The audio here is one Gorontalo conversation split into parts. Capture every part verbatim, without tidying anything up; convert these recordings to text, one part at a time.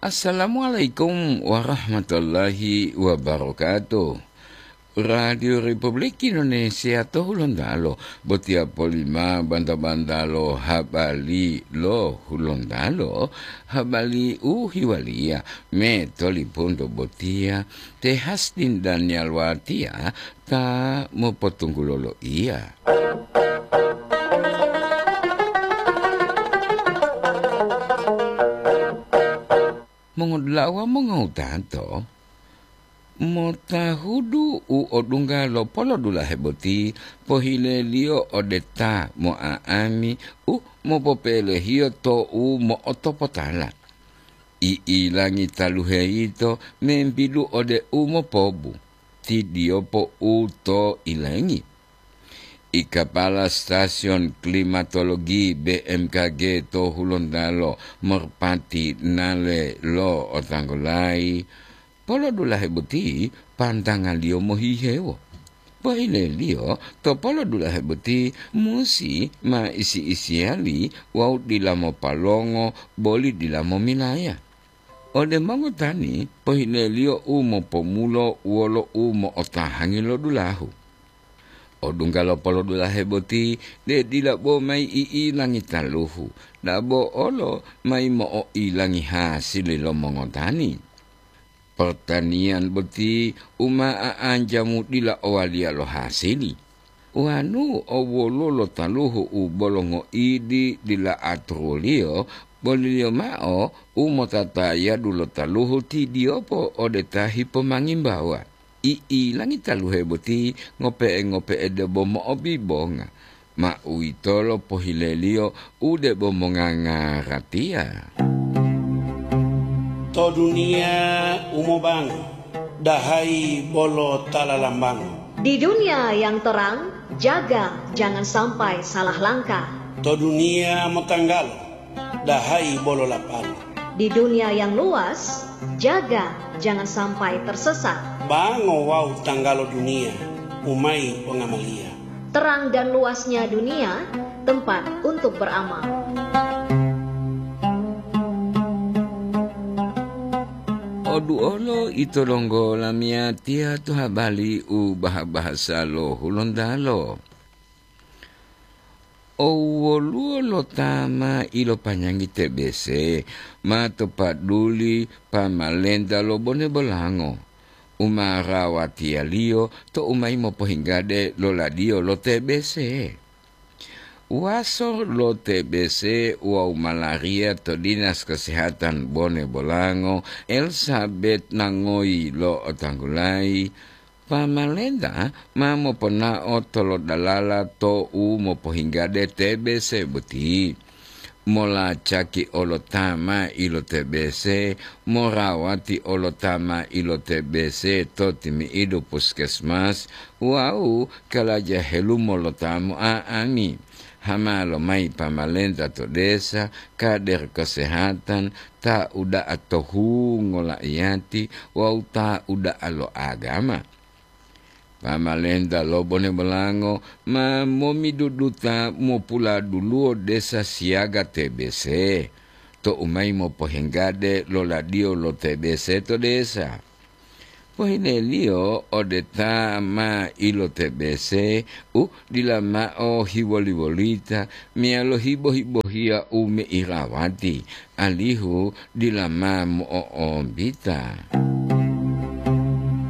Assalamualaikum warahmatullahi wabarakatuh. Radio Republik Indonesia to Hulontalo, botiya polima banta-bantalo habari lo Hulontalo, habari u hiwaliya me tolipunto botiya, te Hastin Daniel Watia ta mopotunggulo loiya. Mongodula'a wawu mongowutato, motahudu u odungga lo polodulahe boti pohileliyo ode ta mo'a'ami u mopopelehiyo to u mo'otopotala. I'ilangi taluhe yito membidu ode u mopobu, tidiyopo u to ilengi. I kapala stasiyon klimatologi B M K G to Hulontalo, Merpati Nale lo otanggulayi, polodulahe boti pantangaliyo mohihewo. Pohileliyo to polodulahe boti musi ma isi-isiyali wawu dila mopalongo boli dila momilaya. Ode mongotani, pohileliyo u mopomulo wolo u mo'otahangi lo dulahu. Odungga lo polodulahe boti, de dila bo mayi i'ilangi taluhu, dabo olo mayi mo'o'ilangi hasili lo mongotani. Pertaniyan boti u ma a'anjamu dila owaliya lo hasili. Wanu o woluwo lo taluhu u bolo ngoidi dila aturuliyo, boliliyo mao u motatayadu lo taluhu tidiyopo ode ta hipomangimbawa. I'ilangi taluhe boti ngope'e-ngope'e debo mo'obibonga, ma uwitolo pohileliyo u debo mongangaratiya. To duniya u mobango, dahayi bolo ta lalambango. Di dunia yang terang, jaga jangan sampai salah langkah. To duniya motanggalo, dahayi bolo lapalo. Di dunia yang luas, jaga jangan sampai tersesat. Bango wawu tanggalo duniya, u mayi pongamaliya. Terang dan luasnya dunia, tempat untuk beramal. Oduolo ito donggo lamiyatiya to habari u baha-bahasa lo Hulontalo. O woluwo lo ta ma ilopanyangi T B C ma to paduli pamalenta lo Bone Bolango, u ma rawatiyaliyo to u mayi mopohinggade lo ladiyo lo T B C. Waso lo T B C wawu malaria to Dinas Kesehatan Bone Bolango, Elizabeth Nangoyi lo otanggulayi, pamalenta ma moponao tolodalala to u mopohinggade T B C boti. Molacaki olo ta ma ilo T B C, morawati olo ta ma ilo T B C to timi'idu puskesmas wawu kalaja helumo lo ta mo'a'ami. Hama lomayi pamalenta to desa, kader kesehatan, ta uda'a to hungo la'iyati wawu ta uda'a lo agama. Pamalenta lo Bone Bolango ma momiduduta mopuladuluwo desa siyaga T B C, to u mayi mopohenggade lo ladiyo lo T B C to desa. Pohineliyo ode ta ma ilo-T B C u dila mao hiwoli-wolita meyalo hibo-hibohiya u meirawati, alihu dila ma mo'o'ombita.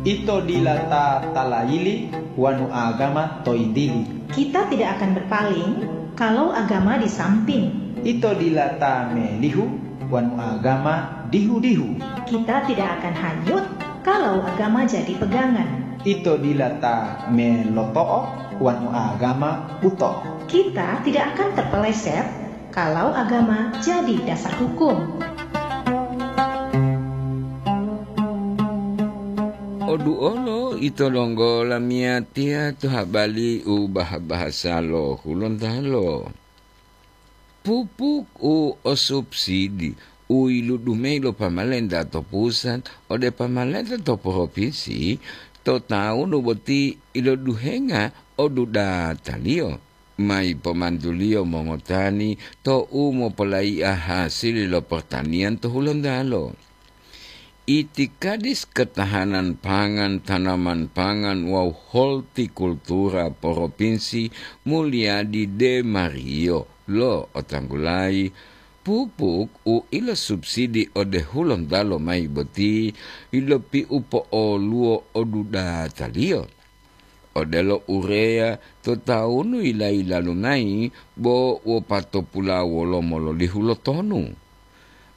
Ito dila ta talayili wonu agama to yinggili. Kita tidak akan berpaling kalau agama di samping. Ito dila ta melihu wonu agama dihu-dihu. Kita tidak akan hanyut kalau agama jadi pegangan. Ito dila ta meloto'o wonu agama buto. Kita tidak akan terpeleset kalau agama jadi dasar hukum. Oduolo ito donggo lamiyatiya to habali u baha-bahasa lo Hulontalo. Pupuk u o subsidi u yiludu mayi lo pamalenta to pusat ode pamalenta to propinsi to tawunu boti iloduhenga odudataliyo. Mayi pomantuliyo mongotani to u mopolaiya hasili lo pertaniyan to Hulontalo. Itikadis Ketahanan Pangan, Tanaman Pangan wawu Hortikultura Propinsi Mulyadi De Mario lo'otanggulayi, pupuk u ilosubsidi ode Hulontalo mayi boti yilopiu po'oluwo odudataliyo. Odelo ureya to tawunu yila-yilalu mayi bo wopatopula wolomo lolihu lo tonu.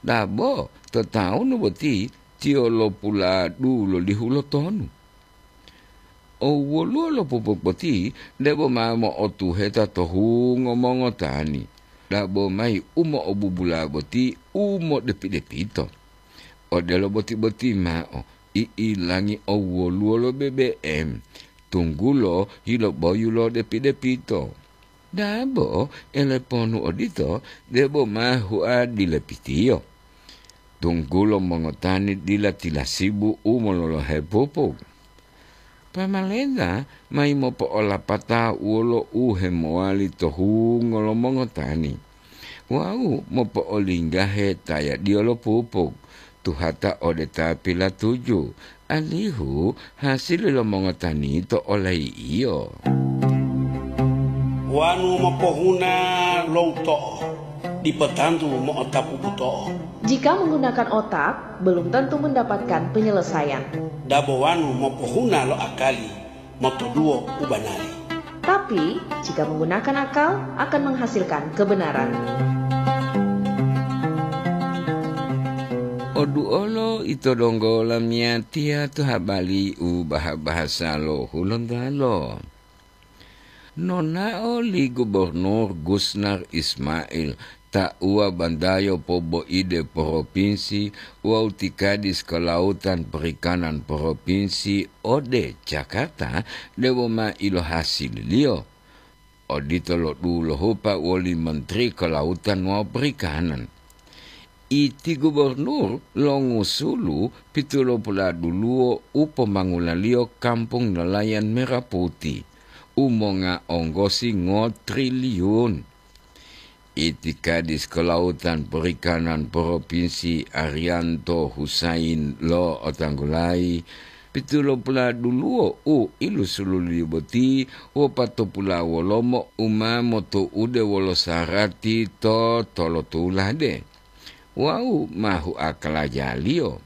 Dabo to tawunu boti tiyo lopuladu lolihu lo tonu. O woluwo lo pupuk boti debo ma mo'otuheta to hungo mongotani, dabo mayi u mo'obubula boti u modepi-depito. Odelo boti-boti mao, i'ilangi owoluwo lo B B M, tunggulo yiloboyu lo depi-depito. Dabo eleponu odito debo ma hua dilepitiyo, tunggulo mongotani dila tilasibu u mololohe pupuk. Pamalenta mayi mopo'olapata wolo u hemowali to hungo lo mongotani wawu mopo'olinggahe tayadiyo lo pupuk, tuhata ode ta pilatuju, alihu hasili lo mongotani to olayi'iyo. Wanu mopohuna lo uto'o, dipo tantu mo'otapu buto'o. Jika menggunakan otak, belum tentu mendapatkan penyelesaian. Dabo wanu mopohuna lo akali, motoduwo u banari. Tapi, jika menggunakan akal, akan menghasilkan kebenaran. Oduolo ito donggo lamiyatiya to habari u baha-bahasa lo Hulontalo. Nonao li Gubernur Gusnar Ismail, tauwa bandayo poboide propinsi wawu ti Kadis Kelautan Perikanan Propinsi ode Jakarta debo ma ilohasililiyo. Odito lo dulohupa woli Menteri Kelautan wawu Perikanan. Iti gubernur longusulu pitulopula duluwo u pomangulaliyo Kampung Nelayan Merah Putih, u monga onggosi ngotriliun. Iti Kadis Kelautan Perikanan Propinsi Arianto Husain lo'otanggulayi, pitulopula duluwo u ilusululiyo boti wopatopula wolomo u ma motoude wolo sarati to tolotulade. Wawu ma huakalajaliyo.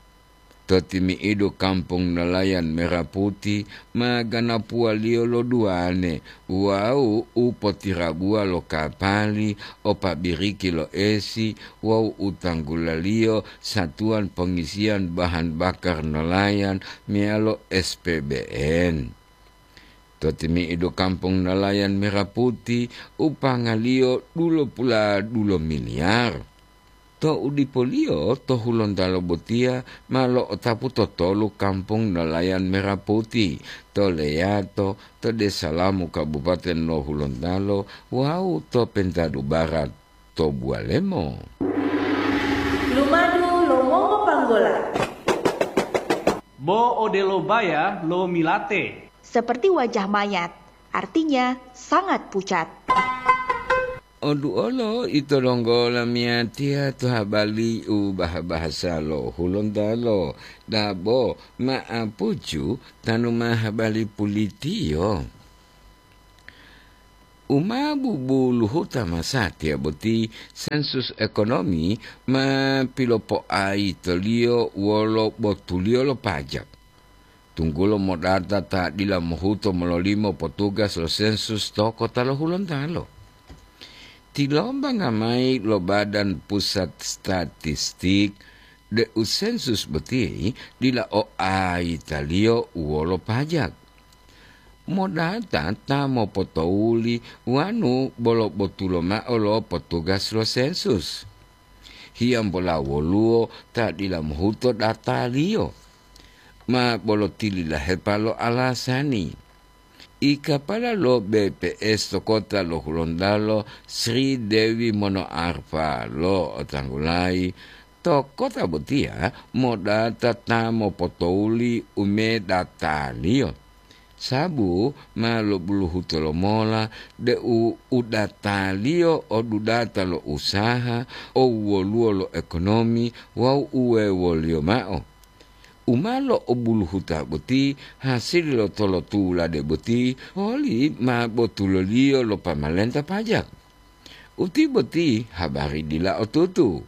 To timi'idu Kampung Nelayan Merah Putih ma ganapuwaliyo lo duwane wawu u potirabuwa lo kapali o pabiriki lo esi wawu u tanggulaliyo satuwan pongisiyan bahan bakar nelayan meyalo S P B N. To timi'idu Kampung Nelayan Merah Putih u pangaliyo dulopula dulo miliyar. To udipoliyo to Hulontalo botiya ma lo'otapu to tolu Kampung Nelayan Merah Putih, to Leyato, to Desa Lamu Kabupaten lo Hulontalo wawu to Pentadu Barat, to Buwalemo. Lumadu lo mongopanggola. Bo odelo baya lo milate. Seperti wajah mayat, artinya sangat pucat. Oduolo ito donggo lamiyatiya to habari u baha-bahasa lo Hulontalo, dabo ma'apuju tanu ma habari pulitiyo. U ma bubuluhuta masatiya boti sensus ekonomi ma pilopoaitoliyo wolo botuliyo lo pajak. Tunggulo modata ta dila mohuto mololimo potugas lo sensus to kota lo Hulontalo. Tilombanga mayi lo Badan Pusat Statistik deu sensus boti dila o aitaliyo wolo pajak. Modata ta mopotowuli wanu bolo botulo mao lo potugas lo sensus. Hiyambola woluwo ta dila mohuto dataliyo. Ma bolo tililahepa lo alasani. Ikapala lo B P S to kota lo Hulontalo, Sri Dewi Monoarfa lo'otanggulayi, to kota botiya modata ta mopotowuli u medataliyo. Sabu ma lobuluhuto lomola deu u dataliyo o dudata lo usaha, o wuwoluwo lo ekonomi wawu uwewoliyo mao. U ma lo'obuluhuta boti hasili lo tolotulade boti, poli ma botuloliyo lo pamalenta pajak. Uti boti habari dila otutu.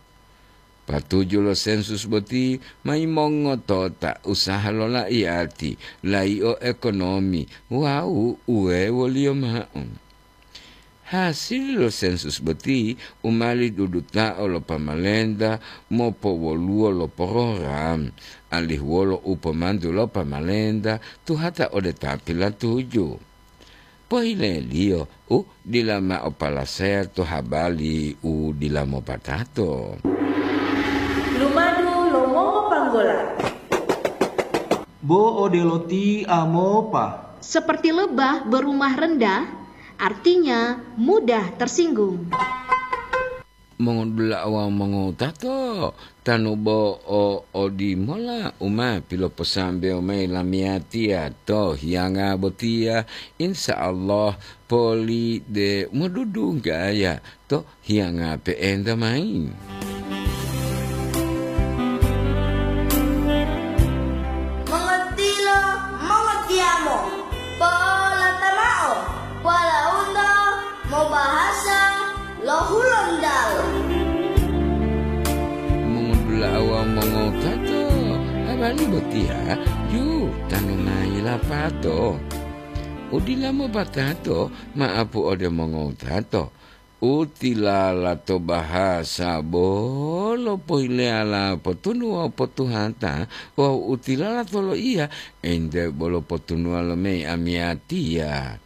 Patuju lo sensus boti ma yimongoto ta usaha lo laiyati, laio ekonomi wawu uwewoliyo ma'o. Hasili lo sensus boti u ma lidudutao lo pamalenta mopowoluwo lo program, alihu wolo u pomantu lo pamalenta tuhata ode ta pilatuju. Pohileliyo u dila mao palasaya to habali u dila mopatato. Lumadu lo mongopanggola. Bo odelo ti amopa. Seperti lebah berumah rendah, artinya mudah tersinggung. Mongodula'a wawu mongowutato, tanu bo o odimola u ma piloposambewo mayi lamiyatiya to hiyanga botiya, insya Allah poli de modudunggaya to hiyanga pe'enta mayi. Mongotilo, mongotiyamo, po'olata mao, walauto mobahasa lo Hulontalo. Mongodula'a wawu mongowutato, habari botiya yu tanu mayi lapato. U dila mopatato ma'apu ode mongowutato. U tilala to bahasa bolo pohileyala potunu wawu potuhata, wawu u tilala to loiya ente bolo potunuwa lo mei amiyatiya.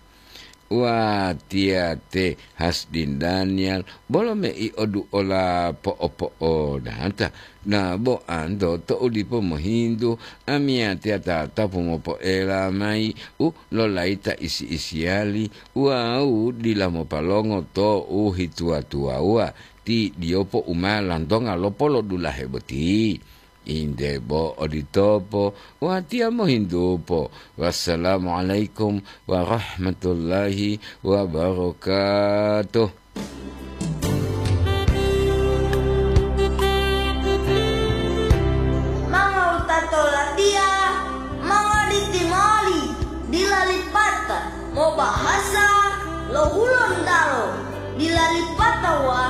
Watiya te Hasdin Daniel bolo mei oduola po'opo'odata. Na bo anto tou dipo mohintu, amiyatiya tatapu mopoela mayi u lolayita isi-isiyali wawu dila mopalongo to u hituwa-tuwawuwa, ti diyopo u ma lantonga lo polodulahe boti. Inde bo oditopo, watiya mohintupo. Wassalamualaikum warahmatullahi wabarakatuh. Mongowutato latiya, mongoditi moli, dila lipata mobahasa lo Hulontalo, dila lipata wa